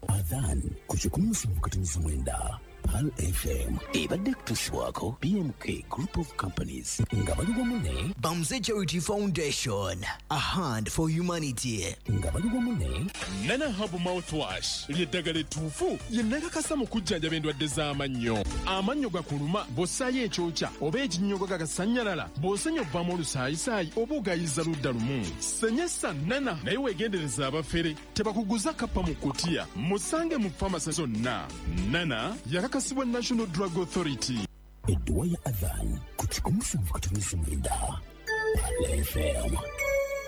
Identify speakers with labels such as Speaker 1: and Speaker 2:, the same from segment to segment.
Speaker 1: Adhan ku 107.9 Pearl FM ebadde kutuusibwako BMK Group of Companies nga bali wamu ne
Speaker 2: Bamze Charity Foundation, a hand for humanity.
Speaker 1: Nga bali wamu ne
Speaker 3: Nana Herbal Mouthwash ly'eddagala ettuufu lye nakakasa mu kujjanjaba endwadde z'amannyo. Amannyo gakuluma bw'ossaayo ekyokya oba ekinnyogo gagasannyalala, bw'osenya ovaamu olusaayisaayi oba ogayiza ludda lumu. Senyesa Nana, naye weegendereza abafere tebakuguza kappa mu kutiya. Musange mu famasi zonna. Nana yakakasibwa National Drug Authority.
Speaker 1: Edduwa ya Adhan ku 107.9 Pearl FM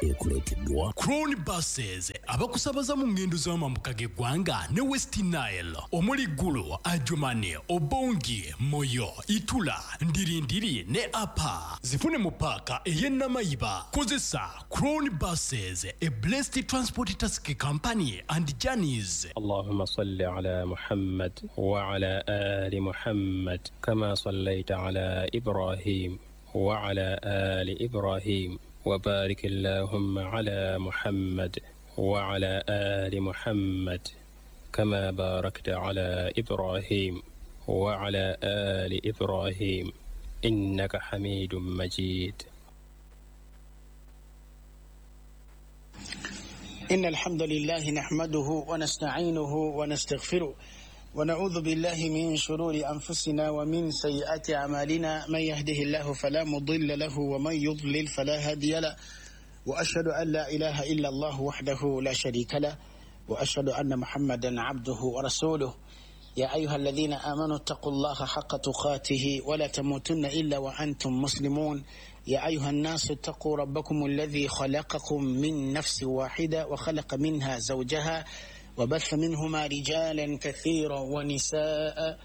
Speaker 1: ekuleeteddwa
Speaker 4: Crown Buses, abakusabaza mu ngendo z'amambuka g'eggwanga ne West Nile, omuli Gulu, Adjumani, Obongi, Moyo, Itula, Ndirindiri ne Apa. Zifune mu paaka ey'e Namayiba. Kozesa Crown Buses, a blessed transport task company and journeys.
Speaker 5: اللهم صل على محمد وعلى آل محمد كما صليت على إبراهيم وعلى آل إبراهيم، وبارك اللهم على محمد وعلى آل محمد كما باركت على إبراهيم وعلى آل إبراهيم، إنك حميد مجيد.
Speaker 6: إن الحمد لله نحمده ونستعينه ونستغفره، ونعوذ بالله من شرور أنفسنا ومن سيئات أعمالنا. من يهده الله فلا مضل له، ومن يضلل فلا هادي له، وأشهد أن لا إله إلا الله وحده لا شريك له، وأشهد أن محمدا عبده ورسوله. يا أيها الذين آمنوا اتقوا الله حق تقاته ولا تموتن إلا وأنتم مسلمون. يا أيها الناس اتقوا ربكم الذي خلقكم من نفس واحدة، وخلق منها زوجها، وبث منهما رجالا كثيرا ونساء،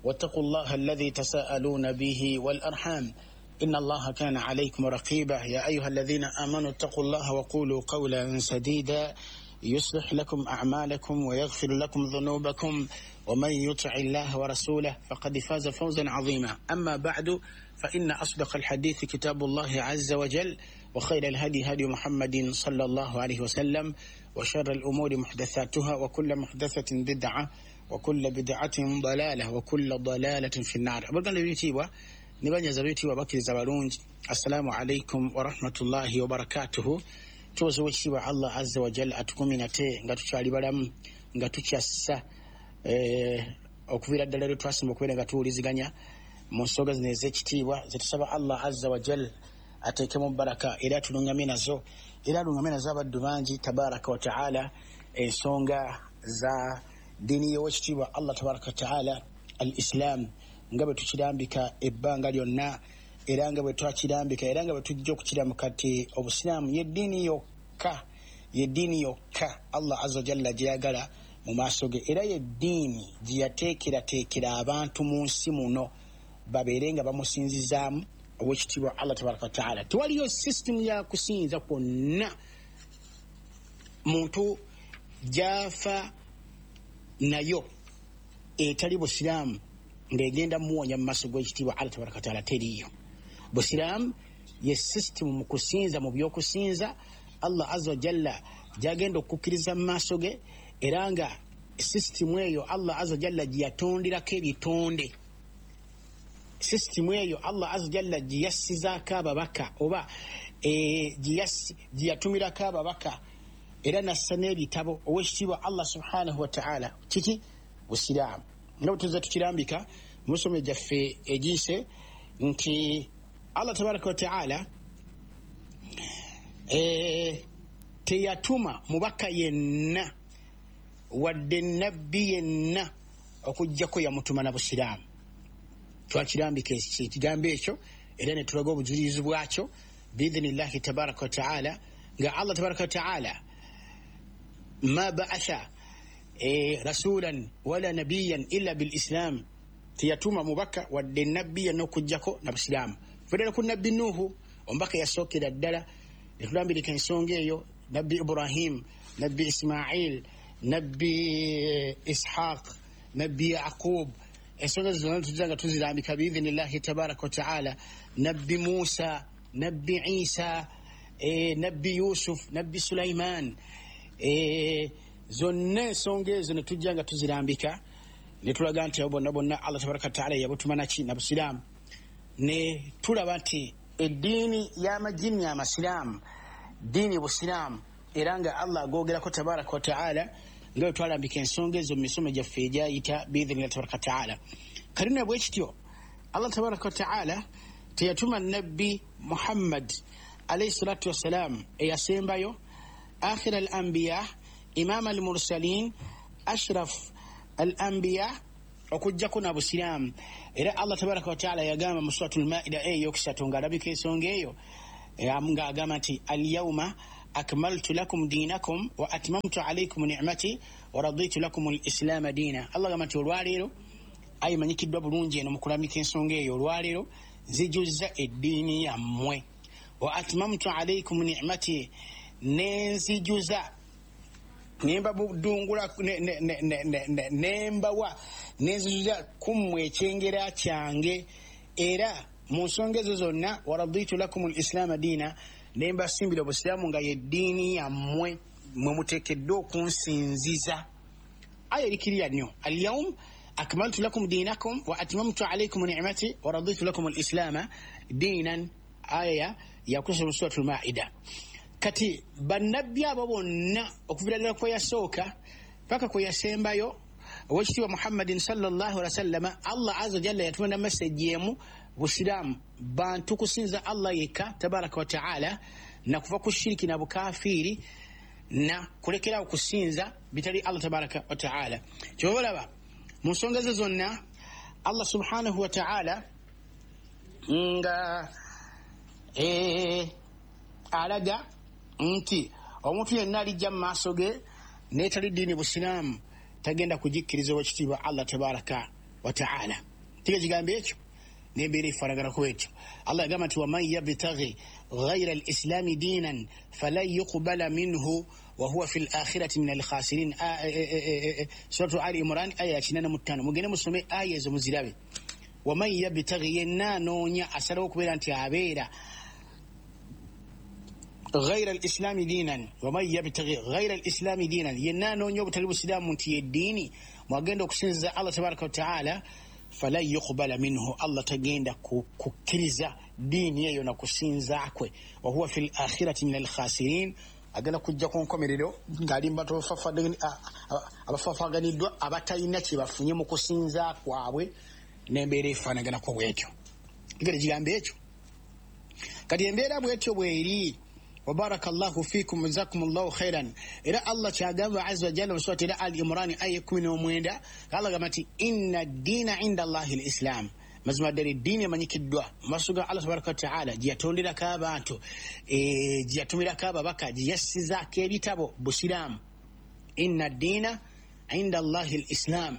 Speaker 6: واتقوا الله الذي تساءلون به والأرحام، إن الله كان عليكم رقيبا. يا أيها الذين آمنوا اتقوا الله وقولوا قولا سديدا، يصلح لكم أعمالكم ويغفر لكم ذنوبكم، ومن يطع الله ورسوله فقد فاز فوزا عظيما. أما بعد، فإن أصدق الحديث كتاب الله عز وجل، وخير الهدي هدي محمد صلى الله عليه وسلم، وشر الأمور محدثاتها، وكل محدثة بدعة، وكل بدعة ضلالة، وكل ضلالة في النار. Abaganda b'ebitiibwa ne banyaza b'ebitiibwa, bakkiriza balungi, assalamu alaikum warahmatullahi wabarakatuhu. Tuwoza owekitiibwa Allah azza wajal atukumye nate nga tukyali balamu, nga tukyassa okuviira ddala lwe twasimba okubeera nga tuwuliziganya mu nsonga zino ez'ekitiibwa, zetusaba Allah azza wajal ateekemu baraka era atulungamye nazo, era alungamye nazo abaddu bangi tabaraka wa taala, ensonga za ddiini y'owekitiibwa Allah tabaraka wa taala, al Islam, nga bwe tukirambika ebbanga lyonna, era nga bwe twakirambika, era nga bwe tujja okukiramuka ti obusiraamu yeddiini yokka, yeddiini yokka Allah azza wajalla gyeyagala mu maaso ge, era yeddiini gye yateekerateekera abantu mu nsi muno babeere nga bamusinzizaamu owekitiibwa Allah tabaraka wataala. Tewaliyo sisitimu ya kusinza kwonna muntu gyafa nayo etali busiraamu ng'egenda muwonya mu maaso g'ekitiibwa Allah tabaraka wataala, teriiyo. Busiraamu ye sisitimu mu kusinza, mu byokusinza, Allah azza wajalla gyagenda okukkiriza mu maaso ge, era nga sisitimu eyo Allah azza wajalla gye yatonderako ebitonde, sisitimu eyo Allah azza wajalla gye yassizaako ababaka, oba gye yatumirako ababaka, era nassa n'ebitabo owekitiibwa Allah subhanahu wataala. Kiki? Busiraamu. Nga bwe tuza tukirambika mu misomo gyaffe egiyise nti Allah tabaraka wataala teyatuma mubaka yenna wadde nabbi yenna okugjako yamutuma na busiraamu. Twakirambika ekigambo ekyo era ne tulaga obujulizi bwakyo biidhinillahi tabaraka wataala, nga Allah tabaraka wataala ma baatha rasulan wala nabiyan illa bilislam, teyatuma mubaka wadde nabbi yenna okugjako na busiraamu. Federa ku Nabbi Nuhu, omubaka yasookera ddala, netulambirika ensonga eyo, Nabbi Ibrahim, Nabbi Ismail, Nabbi Ishaq, Nabbi Yaqub, ensonga zonna tujja nga tuzirambika biidhinillahi tabaraka wataala, Nabbi Musa, Nabbi Isa, Nabbi Yusuf, Nabbi Sulaiman. Zonna ensonga ezo ne tujja nga tuzirambika ne tulaga nti abo bonna bonna Allah tabaraka wataala yabutuma naki? Na busiraamu. Ne tulaba nti eddiini y'amajinni amasiraamu ddiini busiraamu, era nga Allah agogerako tabaraka wataala, nga bwe twalambika ensonga ezo mu misomo gyaffe egyayita biidhinillahi tabaraka wataala. Kati nno bwe kityo, Allah tabaraka wataala teyatuma Nabbi Muhammad alaihi salatu wassalam eyasembayo, akhira al anbiya, imama al mursalin, ashraf al anbiya, okugjako na busiraamu. Era Allah tabaraka wataala yagamba mu Suratu Lmaida eyokusatu, ng'alabika ensonga eyo, ng'agamba nti alyauma akmaltu lakum dinakum wa atmamtu alaikum nicmati wa raditu lakum lislaama diina. Allah agamba nti olwaleero, ayimanyikiddwa bulungi eno mu kulamika ensonga eyo, olwaleero nzijuzza eddiini yammwe, wa atmamtu alaikum nicmati, nenzijuza, nembabudungula, nembawa, nenzijuza kummwe ekyengera kyange. Era mu nsonga ezo zonna, waraditu lakum lislaama diina, nembasimbira obusiraamu nga yeddiini yammwe mwe muteekeddwa okunsinziza. Aya erikiriya nnyo: alyaum akmaltu lakum dinakum wa atmamtu alaikum nicmati wa raditu lakum lislaama diinan. Aya yakusoma Suratu Lmaida. Kati bannabbi abo bonna, okuvira ddala kwe yasooka paka kwe yasembayo, owekitiibwa Muhammadin sallallahu alaihi wasallama, Allah aza jalla yatuma na meseji emu, busiraamu, bantu kusinza Allah yekka tabaraka wataala, na kuva ku shiriki na bukafiiri, na kulekerawo kusinza bitali Allah tabaraka wataala. Kyova olaba mu nsonga ze zonna Allah subhanahu wataala nga alaga nti omuntu yenna alijja mu maaso ge netali ddiini busiraamu tagenda kugikkiriza owekitiibwa Allah tabaraka wataala. Tiga kigambo ekyo nembeera efaanaganako ekyo. Allah yagamba nti waman yabtaghi ghaira lislami diinan falan yuqbala minhu wahuwa fi lakhirati min alkhasirin. Suratu Ali Imran aya ya 85, mugende musome aya ezo muzirabe. Waman yabtaghi, yenna anoonya, asalawo okubeera nti abeera ghaira lislami diinan, waman yabtaghi ghaira lislami diinan, yenna anoonya obutali busiraamu nti yeddiini mwagenda okusinziza Allah tabaraka wataala, falan yuqbala minhu, Allah tagenda kukkiriza diini eyo na kusinza kwe, wahuwa fi lakhirati min alkhasirin, agenda kujja ku nkomerero ng'ali mu abafafaganiddwa abatalina kye bafunye mu kusinza kwabwe, n'embeera efaanaganako bwetyo. Tegere kigambo ekyo. Kati embeera bwetyo bweri. Wabaraka llahu fikum, jazakum llahu khairan. Era Allah kyagamba azza wajalla mu surati era Al Imrani aya 19, Allah agamba nti inna ddiina inda llahi lislam, mazima ddala eddiini emanyikiddwa mu maaso ga Allah tabaraka wataala, gye yatonderako abantu, gye yatumirako ababaka, gye yassizaako ebitabo, busiraamu. Inna ddiina inda llahi lislam,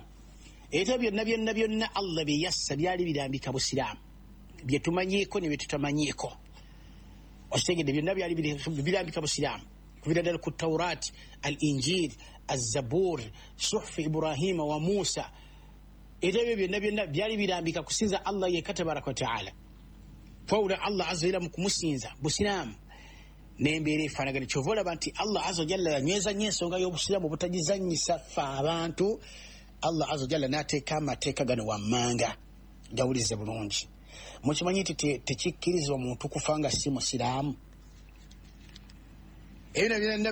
Speaker 6: ebitabo byonna byonna byonna Allah bye yassa byali birambika busiraamu, bye tumanyiiko ne bye tutamanyiiko. Okitegedde? Byonna byali birambika busiraamu, kuvira ddala ku Taurat, al Injil, Azabur, suhufu Ibrahima wa Musa. Era ebyo byonna byonna byali birambika kusinza Allah yekka tabaraka wataala, twawula Allah azza wajalla mu kumusinza, busiraamu, n'embeera efaanagana. Kyova olaba nti Allah azza wajalla yanyweza nnyo ensonga y'obusiraamu obutagizannyisa ffe abantu. Allah azza wajalla n'ateeka amateeka gano wammanga, gawulize bulungi. Mukimanyi nti tekikkirizibwa omuntu kufa nga si musiraamu? Ebyo byonna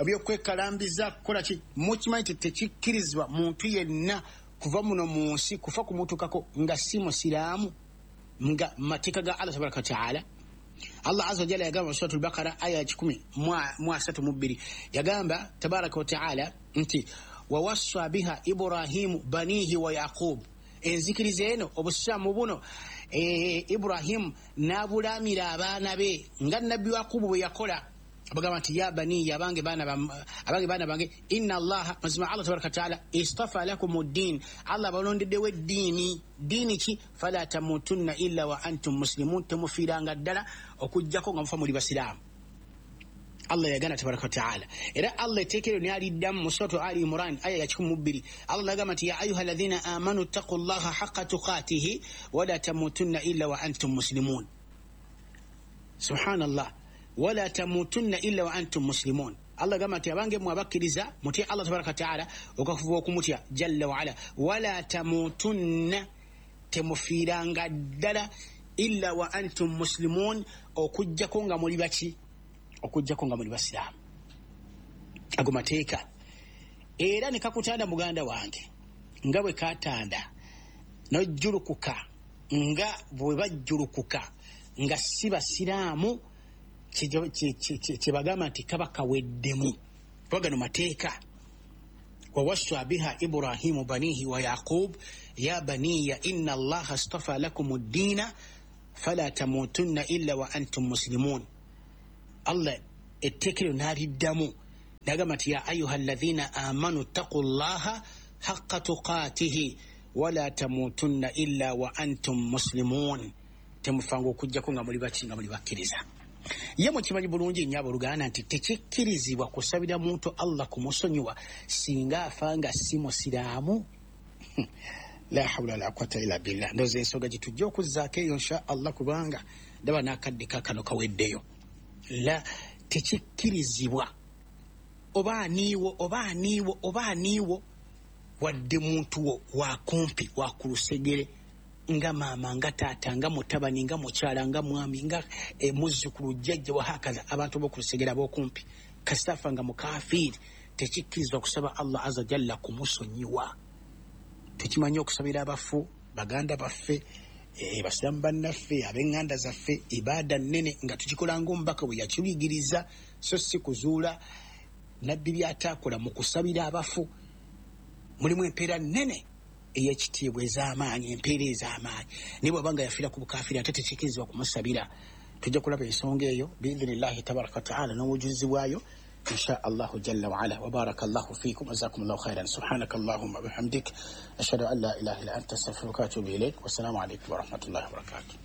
Speaker 6: byokwekalambiza kukola ki, mukimanyi nti tekikkirizibwa muntu yenna kuva muno mu nsi kufa kumutukako nga si musiraamu, nga mateeka ga Allah tabaraka wataala? Allah azza wajalla yagamba mu Suratu Lbakara aya ya 132, yagamba tabaraka wataala nti wawassa biha Ibrahimu banihi wa Yaqub, enzikiriza eno, obusiraamu buno, Ibrahimu n'abulamira abaana be nga Nabbi Yakubu bwe yakola. Bagamba nti ya baniya, abange baana bange, inna Allaha, mazima Allah tabaraka wataala, istafa lakum ddin, Allah abalondeddewo eddiini. Ddiini ki? Fala tamutunna illa wa antum muslimun, temufiiranga ddala okugjako nga mufa muli basiraamu. Allah yagana tabaraka wataala. Era Allah etteeka eryo naliddamu mu Suratu Ali Imran aya ya 102. Allah nagamba nti ya ayuha alladhina amanu ttaqu llaha haqa tuqatihi wala tamutunna illa wa antum muslimun. Subhanallah, wala tamutunna illa wa antum muslimun. Allah gamba nti abange mmwe abakkiriza, mutye Allah tabaraka wataala okafuba okumutya jalla waala. Wala tamutunna, temufiiranga ddala, illa wa antum muslimun, okugjako nga muli baki? Okugjako nga muli basiraamu. Ago mateeka. Era ne kakutanda muganda wange nga bwe katanda nojjulukuka nga bwe bajjulukuka nga si basiraamu, kyebagamba nti kaba kaweddemu, kuba gano mateeka. Wawassa biha Ibrahimu banihi wa Yaqub ya baniya inna Allaha astafa lakum ddiina fala tamutunna illa wa antum muslimun. Allah etteeka eryo n'aliddamu nagamba nti ya ayuha alladhina amanu ttaqu llaha haqqa tuqatihi wala tamutunna illa wa antum muslimun, temufanga okugjako nga muli baki? Nga muli bakkiriza. Ye mukimanyi bulungi nnyo abooluganda nti tekikkirizibwa kusabira muntu Allah kumusonyiwa singa afa nga si musiraamu. La hawula wala quwata illa billah. Ndowooza ensonga gye tujja okuzzaako eyo insha Allah, kubanga ndaba n'akadde kakano kaweddeyo. La, tekikkirizibwa oba aniiwo oba aniiwo oba aniiwo, wadde muntu wo wakumpi wakulusegere, nga maama, nga taata, nga mutabani, nga mukyala, nga mwami, nga muzzukulu, jjajja, wahakaza, abantu bokulusegere abokumpi, kasitafa nga mukafiiri, tekikkirizibwa kusaba Allah azza jalla kumusonyiwa. Tukimanyi okusabira abafu baganda baffe, basiramu bannaffe, ab'eŋŋanda zaffe, ibaada nnene nga tukikola ng'omubaka bwe yakiyigiriza, so si kuzuula nabbi byataakola. Mu kusabira abafu mulimu empeera nnene ey'ekitiibwa ez'amaanyi, empeera ez'amaanyi, naye bw'aba nga yafiira ku bukafiiri ate tekikkirizibwa kumusabira. Tujja kulaba ensonga eyo biidhinillahi tabaraka wataala n'obujulizi bwayo insha Allahu jalla waala. Wabaraka llahu fikum, jazakum llahu khairan. Subhanaka allahumma bihamdik, ashhadu an la ilaha illa anta, astaghfiruka wa atubu ilaik. Wassalamu alaikum warahmatullahi wabarakatuh.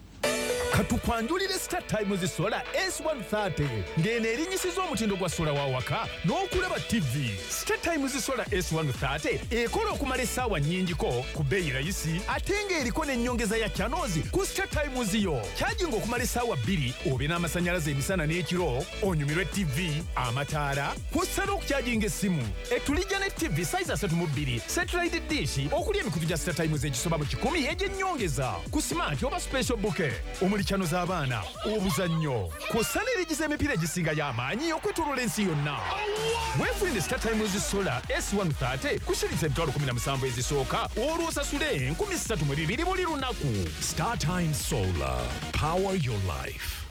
Speaker 7: Katukwanjulire Star Times Solar S130, ng'eno erinyisiza omutindo gwa sola wa waka n'okulaba TV. Star Times Solar S130 ekola okumala essaawa nnyingiko ku bbeeyi rayisi, ate ng'eriko n'ennyongeza ya channels ku Star Times yo. Kyajinga okumala essaawa 2 obe n'amasannyalaze emisana n'ekiro, onyumirwe TV, amataala, kw'ossa n'okukyajinga essimu. Etulijja ne TV size 32, satellite dish okuli emikutu gya Star Times egisoba mu 100 egy'ennyongeza ku smart oba special bouquet omuli chano z'abaana, obuzannyo, kw'ossa n'erigiza emipiira egisinga y'amaanyi okwetooloola ensi yonna. Weefunire Star Times Solar S130 ku shilingi 17,000 ezisooka, olwo osasule 3,200 buli lunaku.
Speaker 8: Star Times Solar, power your life.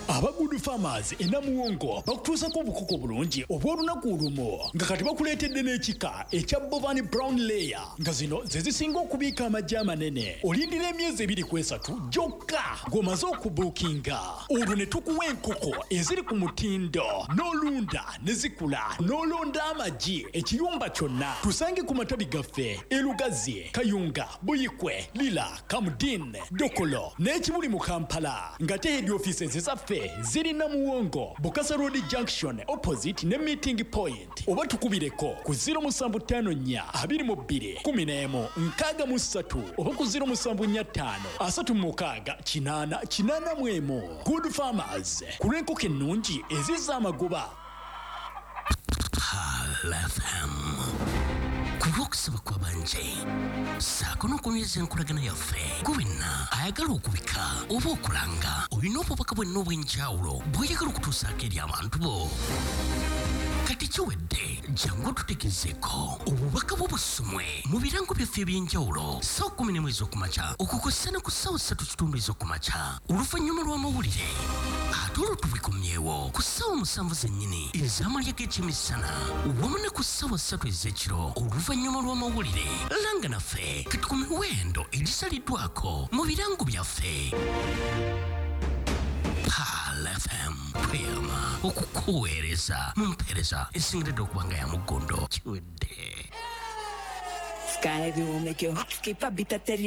Speaker 4: Aba Good Farmers e Namuwongo bakutuusako obukoko bulungi obw'olunaku olumu, nga kati bakuleetedde n'ekika ekya Bovan Brown Layer, nga zino ze zisinga okubiika amagi amanene. Olindira emyezi 2 ku 3 gyokka ng'omaze okubuukinga, olwo ne tukuwa enkoko eziri ku mutindo n'olunda ne zikula n'olonda amagi ekiyumba kyonna. Tusange ku matabi gaffe e Lugazi, Kayunga, Buyikwe, Lira, Kamudin, Dokolo n'ekibuli mu Kampala, nga te head offices zaffe ziri Namuwongo, Bukasa Road Junction opposite ne Meeting Point, oba tukubireko ku 0754 22 11 63 oba ku 0745 36 8 81. Good Farmers, ku lw'enkoko ennungi ezizza amagoba.
Speaker 1: Pearl FM, ku lw'okusaba kw'abanje ssaako n'okunyweza enkolagana yaffe, gwe wenna ayagala okubika oba okulanga, olina obubaka bwenna obw'enjawulo bw'oyagala okutuusaako eri abantu bo, kati kiwedde, jangu otutegezeeko obubaka bwo busomwe mu birango byaffe eby'enjawulo ssaawa 11 ez'okumakya okukossa ne ku ssaawa 3:15 ez'okumakya oluvannyuma lw'amawulire, ate olwo tubikomyewo ku ssaawa 7 zennyini ez'amalya g'ekyemisana wamu ne ku ssaawa 3 ez'ekiro oluvannyuma lw'amawulire. Langa naffe kati ku miwendo egisaliddwako mu birango byaffe. Pearl FM, tweyama okukuweereza mu mpeereza esingiridde okuba nga ya muggondo. Kiwedde.
Speaker 9: Sky will make your heart skip a beat.